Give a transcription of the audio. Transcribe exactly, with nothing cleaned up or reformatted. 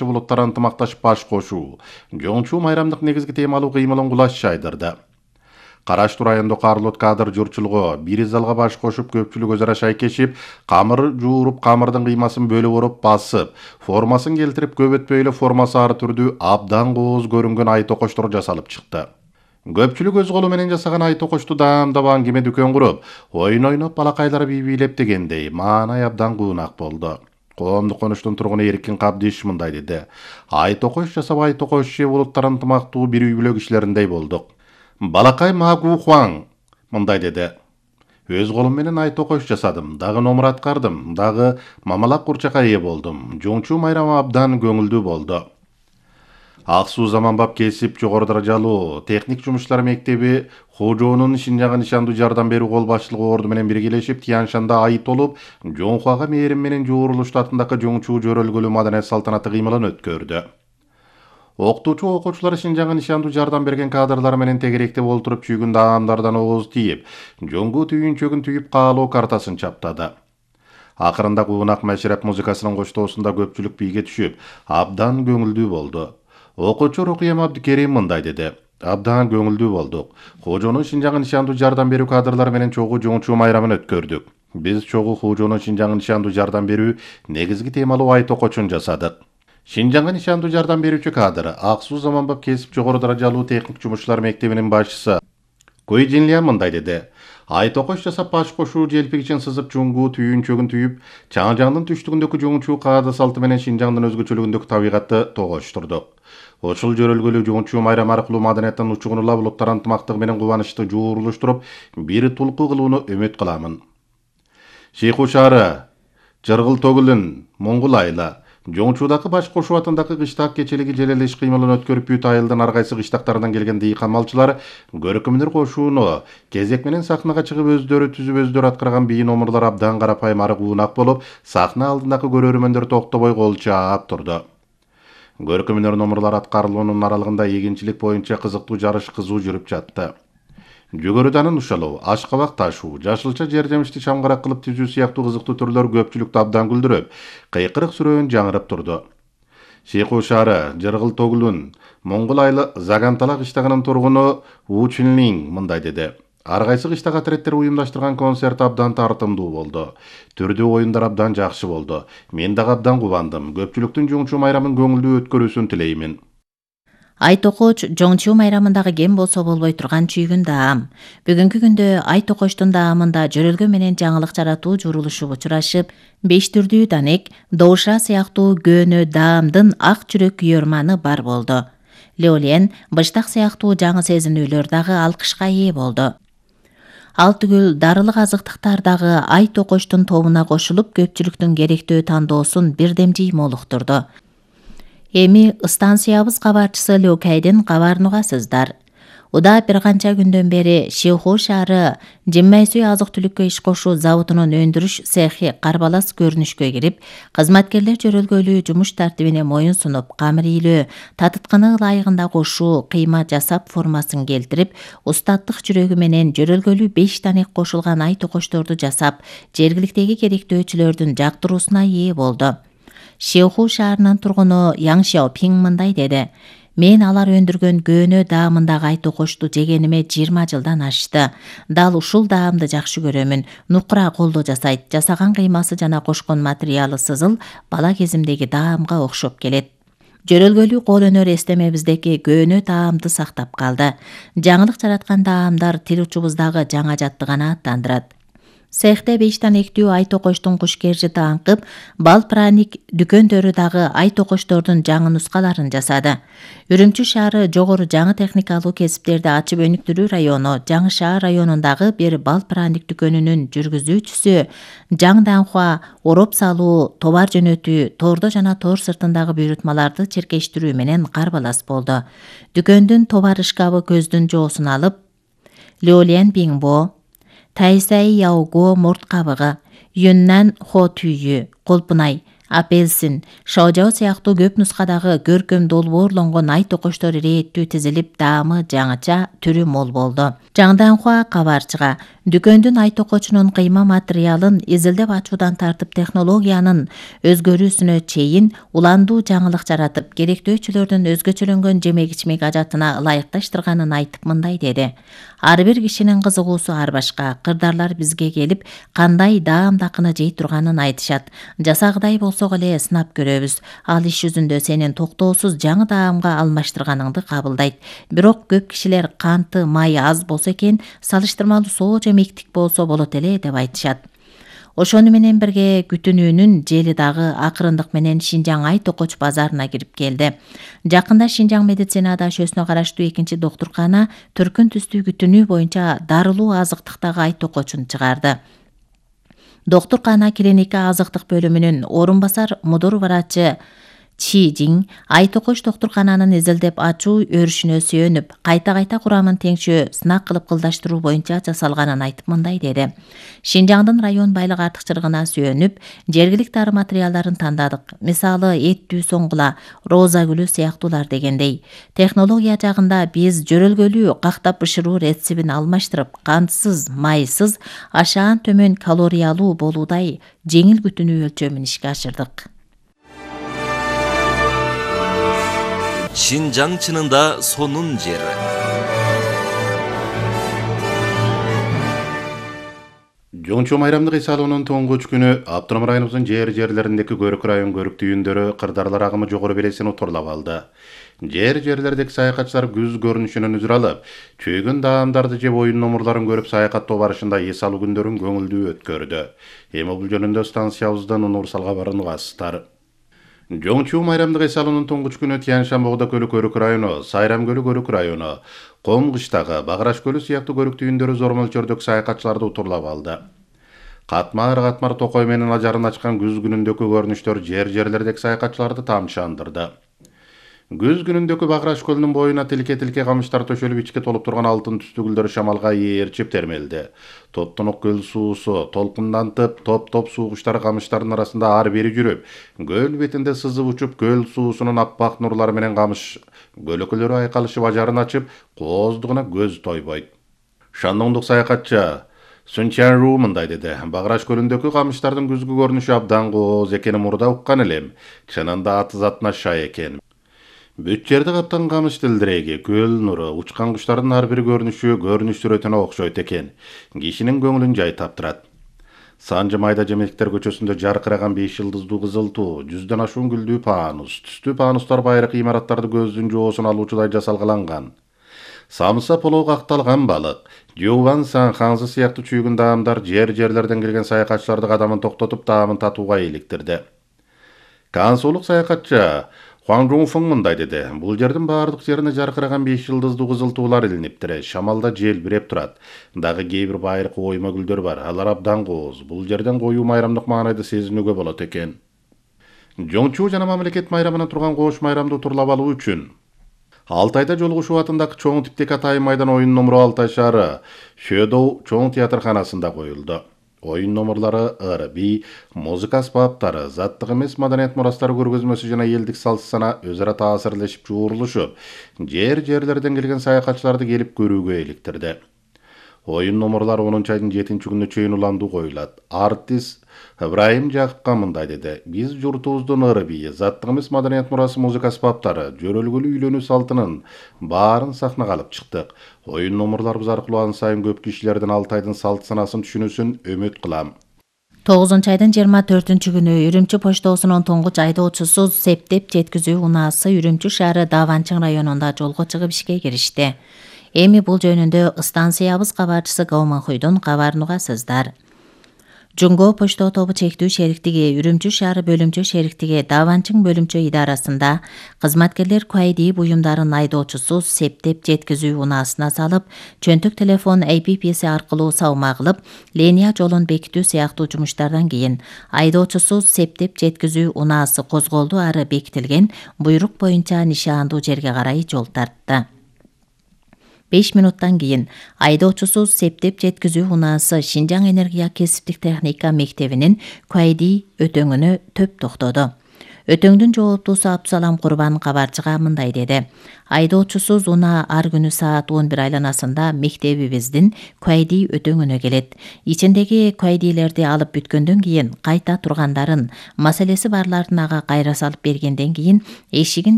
булуттар ынтымакташып баш кошуу, жоңчу майрамдык негизги темалуу кыймылын кулаш жайдырды. Караштуу райондо Карлот кадр журчулугу бир залга баш кошуп, көпчүлүк өзара шайкешип, камыр жууруп, камырдын кыймасын бөлүп уруп басып, формасын келтирип, көп өтпөй эле формасы ары түрдүү абдан кооз көрүнгөн ай токочтор жасалып чыкты. Көпчүлүк өз колу менен жасаган ай токочту даамдап аңгеме дүкөн куруп, ойун ойноп, балакайлар бий бийлеп дегендей маанай абдан куунак болду. Коомдук конуштун тургуну Эркин Кабдиш мындай деди: Ай токоч жасап, ай токоч же булуттар ынтымактуу бир үй бүлө кишилериндей болдук. Балакай Магу Хуаң мындай деди: Өз колум менен ай токоч жасадым, дагы номур аткардым, дагы мамалак курчакка ээ болдум. Жоңчу майрамы абдан көңүлдүү болду. Ак Суу Заманбап кесип жогору даражалуу техник жумуштар мектеби Хожоонун Шинжаңга нишандуу жардам берүү кол башчылыгы орду менен биргелешип, Тяншанда ай толуп, Жоңхуага мээрим менен Жоорулуу штатындагы жоңчу жөрөлгөлүү маданият салтанаты кыймылын өткөрдү. Окутуучу окуучулар Шинжаңга нишандуу жардам берген кадрлар менен тегеректеп олтуруп, чүйгүн даамдардан ооз тийип, жоңгу түйүнчөгүн түйүп каалоо картасын чаптады. Акырында куунак мәшреп музыкасынын коштоосунда көпчүлүк бийге түшүп, абдан көңүлдүү болду. Окуучу Рукуям Абдикерим мындай деди: Абдан көңүлдүү болдук. Хожоонун Шинжаңга нишандуу жардам берүү кадрлар менен чогуу жоңчу майрамын өткөрдүк. Биз чогуу Хожоонун Шинжаңга нишандуу жардам берүү негизги темалуу ай токочун жасадык. Шинжаңга нишандуу жардам берүүчү кадр Ак Суу Заманбап кесип жогору даражалуу техник жумушчулар мектебинин башчысы Куй Жинлиан мындай деди: Ай токоч жасап баш кошуу желпигичин сызып, жуңгу түйүнчөгүн түйүп, Чаңжаңдын түштүгүндөгү жоңчу каада салты менен Шинжаңдын өзгөчөлүгүндөгү табигатты тогоштурдук. Ошол жөрөлгөлүү жоңчу майрам аркылуу маданияттын учугунула булуттар ынтымактыгы менен кубанычты жуурулуштуруп, бир тулку кылууну үмүт кыламын. Шейху шаары, Жыргыл Тогулун, Моңгул айла, Жоңчуудагы баш кошуу атындагы кыштак кечелиги желел иш кыймылын өткөрүп, бүт айылдын ар кайсы кыштактарынан келген дыйкан малчылар көркөмдөр кошууну кезек менен сахнага чыгып, өздөрү түзүп, өздөрү аткарган бий номурлар абдан карапайым ары куунак болуп, сахна алдындагы көрөрмөндөр токтобой кол чаап турду. Көркөмдөр номурлар аткарылуунун аралыгында эгинчилик боюнча кызыктуу жарыш кызуу жүрүп жатты. Жүгөрүданын ушалуу, ашкабак ташуу, жашылча жер жемишти чамгарак кылып түзүү сыяктуу кызыктуу түрлөр көпчүлүктү абдан күлдүрүп, кыйкырык сүрөөн жаңырып турду. Шейху шаары, Жыргыл Тогулун, Моңгул айла Загантала кыштагынын тургуну У Чүнлиң мындай деди: Ар кайсы кыштак атиреттер уюмдаштырган концерт абдан тартымдуу болду. Түрдүү оюндар абдан жакшы болду. Мен дагы абдан кубандым. Көпчүлүктүн жоңчу майрамын көңүлдүү өткөрүүсүн тилеймин. Ай токоч жоңчу майрамындагы кем болсо болбой турган чүйгүн даам. Бүгүнкү күндө ай токочтун даамында жөрөлгө менен жаңылык жаратуу журулушуп учурашып, беш түрдүү данек, доуша сыяктуу көөнө даамдын ак жүрөк күйөрманы бар болду. Леолен, быштак сыяктуу жаңы сезинүүлөр дагы алкышка ээ болду. Ал түгүл дарылык азыктыктар дагы ай токочтун тобуна кошулуп, көпчүлүктүн керектөө тандоосун бирдем жыймолуктурду. Эми станциябыз кабарчысы Лёкайдын кабарын угасыздар. Уда бир канча күндөн бери Шейху шаары Жиммайсүй азык-түлүккө иш кошуу заводунун өндүрүш цехи карбалас көрүнүшкө кирип, кызматкерлер жөрөлгөлүү жумуш тартибине моюн сунуп, камыр ийлөө, татытканы ылайыгында кошуу, кыйма жасап формасын келтирип, устаттык жүрөгү менен жөрөлгөлүү беш данек кошулган ай токочторду жасап, жергиликтеги керектөөчүлөрдүн жактыруусуна ээ болду. Шейху шаарынын тургуну Яң Шяопиң мындай деди: Мен алар өндүргөн көөнө даамындагы ай токочту жегениме жыйырма жылдан ашты. Дал ушул даамды жакшы көрөмүн. Нукура колдо жасайт. Жасаган кыймасы жана кошкон материалы сызыл бала кезимдеги даамга окшоп келет. Жөрөлгөлүү кол өнөр эстемебиздеки көөнө даамды сактап калды. Жаңылык жараткан даамдар тил учубуздагы жаңа жаттыгана аттандырат. Цехте беш данектүү ай токочтун кушкержити аңкып, бал праник дүкөндөрү дагы ай токочтордун жаңы нускаларын жасады. Үрүмчү шаары жогору жаңы техникалуу кесиптерди ачып өнүктүрүү району Жаңы шаар районундагы бир бал праник дүкөнүнүн жүргүзүүчүсү Жаң Данхуа ороп салуу, товар жөнөтүү, тордо жана тор сыртындагы буйрутмаларды черкештирүү менен карбалас болду. Дүкөндүн товар шкабы көздүн жоосун алып, Леолен Биңбо, Тайсай Яого мурт кабыгы, Юннан Хо түйү, колпунай, Апельсин, шоужао сыяктуу көп нускадагы көркөм долбоорлонгон ай токоштор ирээттүү тизилип, даамы жаңыча, түрү мол болду. Жаңданхуа кабарчыга дүкөндүн ай токочунун кыйма материалын изилдеп ачуудан тартып технологиянын өзгөрүүсүнө чейин уландуу жаңылык жаратып, керектөөчүлөрдүн өзгөчөлөнгөн жемек-ичмек ажатына ылайыкташтырганын айтып мындай деди. Ар бир кишинин кызыгуусу ар башка. Кырдаарлар бизге келип, кандай даамдакыны жей турганын айтышат. Жасагыдай болсок эле сынап көрөбүз. Ал иш жүзүндө сенин токтоосуз жаңы даамга алмаштырганыңды кабылдайт. Бирок көп кишилер канты, май аз болсо экен, салыштырмалуу соо жемектик болсо болот эле деп айтышат. Ошону менен бирге күтүнүүнүн жели дагы акырындык менен Шинжаң ай токоч базарына кирип келди. Жакында Шинжаң медицина дашөсүнө караштуу экинчи доктуркана түркүн түстүү күтүнүү боюнча дарылуу азыктыктагы ай токочун чыгарды. Доктуркана клиника азыктык бөлүмүнүн орун басар мудур врачы Чи Жин ай токоч доктуркананын изилдеп ачуу өрүшүнө сүйөнүп, кайта-кайта курамын теңшөө сынак кылып кылдаштыруу боюнча жасалганын айтып мындай деди. Шинжаңдын район байлык артыкчылыгына сүйөнүп, жергиликтүү ары материалдарын тандадык. Мисалы, эттүү соңгула, роза гүлү сыяктуулар дегендей. Технология жагында биз жөрөлгөлүү кактап бышыруу рецебин алмаштырып, кантсыз, майсыз, ашаан төмөн калориялуу болуудай жеңил күтүнүү өлчөмүн ишке ашырдык. Шинжаң чынында сонун жер. Жоңчу майрамдык эс алуунун тоңгуч күнү Автоном районубуздун жер жерлериндеги Көрүк район көрүк түйүндөрү кырдаарлар агымы жогору белесин утурлап алды. Жер жерлердеги саякатчылар күз көрүнүшүнөн үзүр алып, чөйгөн даамдарды жеп оюн номурларын көрүп саякаттоо барышында эс алуу күндөрүн көңүлдүү өткөрдү. Эми бул жөнүндө станциябыздан Унурсал кабарын угасыздар. Жоңчу майрамдык эс алуунун тоңгуч күнү Тянь-Шань Богдо көлү Көрүк району, Сайрам көлү Көрүк району, Ком кыштагы, Баграш көлү сыяктуу көрүк түйүндөрү зор мөлчөрдөгү саякатчыларды утурлап алды. Катмар-катмар токой менен ажарын ачкан күз күнүндөгү көрүнүштөр жер жерлердеги саякатчыларды тамчандырды. Күз күнүндөгү Баграш көлүнүн боюна тилке-тилке камыштар төшөлүп, ичке толуп турган алтын түстүү гүлдөр шамалга ээрчип термелди. Топтонук көл суусу толкундантып, топ-топ суугучтар камыштардын арасында ар бери жүрүп, көл бетинде сызып учуп, көл суусунун аппак нурлары менен камыш көлөкөлөрү айкалышып ажарын ачып, кооздугуна көз тойбойт. Шандоңдук саякатчы Сун Чан-ру мындай деди. Баграш көлүндөгү камыштардын күзгү көрүнүшү абдан кооз экенин мурда уккан элем. Чынында аты затына шай экен. Бүт жерди каптан камыш тилдиреги, көл нуру, учкан куштардын ар бир көрүнүшү көрүнүш сүрөтүнө окшойт экен. Кишинин көңүлүн жай таптырат. Санжы майда жемектер көчөсүндө жаркыраган беш жылдыздуу кызыл туу, жүздөн ашуун гүлдүү паанус, түстүү паанустар байыркы имараттарды көздүн жоосун алуучудай жасалгаланган. Самса полоо какталган балык, Жуван Сан ханзы сыяктуу чүйгүн даамдар жер жерлерден келген саякатчыларды кадамын токтотуп даамын татууга иликтирди. Кансуулук саякатчы Хуан Жунфың мындай деди. Бул жердин баардык жерине жаркыраган беш жылдыздуу кызыл туулар илиниптир. Шамалда желбиреп турат. Дагы кээ бир байыркы ойма гүлдөр бар. Алар абдан кооз. Бул жерден коюу майрамдык маанайды сезинүүгө болот экен. Жоңчу жана мамлекет майрамына турган кош майрамды утурлап алуу үчүн Алтайда жолугушуу атындагы чоң типтеги Атайын майдан оюн номуру Алтай шаары Шөдоу чоң театрканасында коюлду. Оюн номурлары ыр, би, музыка аспаптары, заттык эмес маданият мурастары көргөзмөсү жана элдик салт сана өз ара таасирлешип жуурулушуп, жер жерлерден келген саякатчыларды келип көрүүгө иликтирди. Оюн номурлар онунчу айдын жетинчи күнүнө чейин уландуу коюлат. Артист Ибрайым Жакыпка мындай деди. Биз журтубуздун ыры бийи, заттык эмес маданият мурасы, музыка аспаптары, жөрөлгөлүү үйлөнүү салтынын баарын сахнага алып чыктык. Оюн номурларыбыз аркылуу ан сайын көп кишилердин Алтайдын салт санасын түшүнүүсүн үмүт кылам. тогузунчу айдын жыйырма төртүнчү күнү Үрүмчү поштосунун туңгуч айдоочусу септеп жеткизүү унаасы Үрүмчү шаары Даванчың районунда жолго чыгып ишке киришти. Эми бул жөнүндө станциябыз кабарчысы Гауманхуйдун кабарын угасыздар. Жунго почто тобу чектүү шериктиги Үрүмчү шаары бөлүмчө шериктиги Даванчың бөлүмчө идарасында кызматкерлер куайдии буюмдарын айдоочусу септеп жеткизүү унаасына салып, чөнтүк телефон A P P-си аркылуу сабма кылып, линия жолун бекитүү сыяктуу жумуштардан кийин айдоочусу септеп жеткизүү унаасы козголду ары бекитилген буйрук боюнча нишаандуу жерге карай жол тартты. беш минуттан кийин айдоочусуз септеп жеткизүү унаасы Шинжаң энергия кесиптик техника мектебинин Куайди өтөңүнө төп токтоду. Өтөңдүн жооптуусу Абдусалам Курбан кабарчыга мындай деди: айдоочусуз унаа ар күнү саат он бир айланасында мектебибиздин Куайди өтөңүнө келет. Ичиндеги Куайдилерди алып бүткөндөн кийин кайта тургандарын, маселеси барларын ага кайра салып бергенден кийин эшигин